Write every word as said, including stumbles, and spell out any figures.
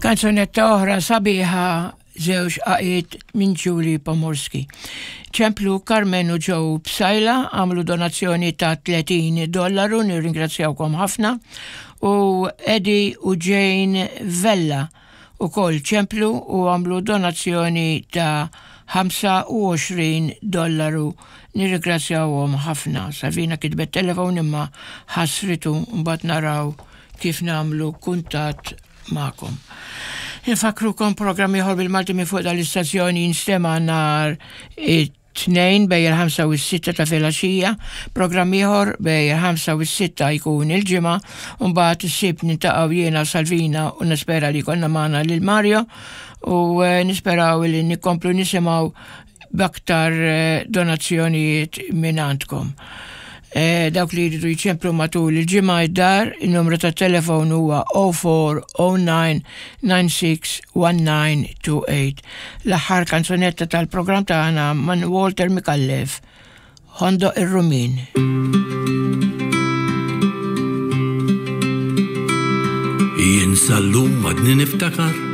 Kanzunetta oħra sabiħa, żewġ għaqiet minn Julie Pomorski. Ċemplu Carmen u Joe Psaila, għamlu donazzjoni ta' tletin dollaru, nirringrazzjawkom ħafna, u Eddie u Jane Vella u kol ċemplu u għamlu donazzjoni ta' ħamsa u għoxrin dollaru, nirringrazzjawhom ħafna. Salvina kitbet telefon imma ħasritu, mbagħad naraw kif nagħmlu kuntatt magħkom. Infakrukom, programm ieħor bil-Malti minn fuq dal-istazzjoni jinstema' nhar it-Tnejn bejn il-ħamsa u s-sitta ta' filgħaxija, programm ieħor bejn il-ħamsa u s-sitta jkun il-Ġimgħa, u mbagħad is-Sibt niltaqgħu jiena, Salvina, u nispera li jkollna magħna lil Mario u eh, nisperaw li nikomplu nisimgħu b'aktar eh, donazzjonijiet minn għandkom. Eh, dawk li jridu jċemplu matul il-ġimgħa id-dar, il-numru ta' telefon huwa zero four zero nine nine six one nine two eight. L-aħħar kanzunetta tal-programm tagħna minn Walter Micallef, Ħondoq ir-Rummien. Jien sal-lum għadni niftakar.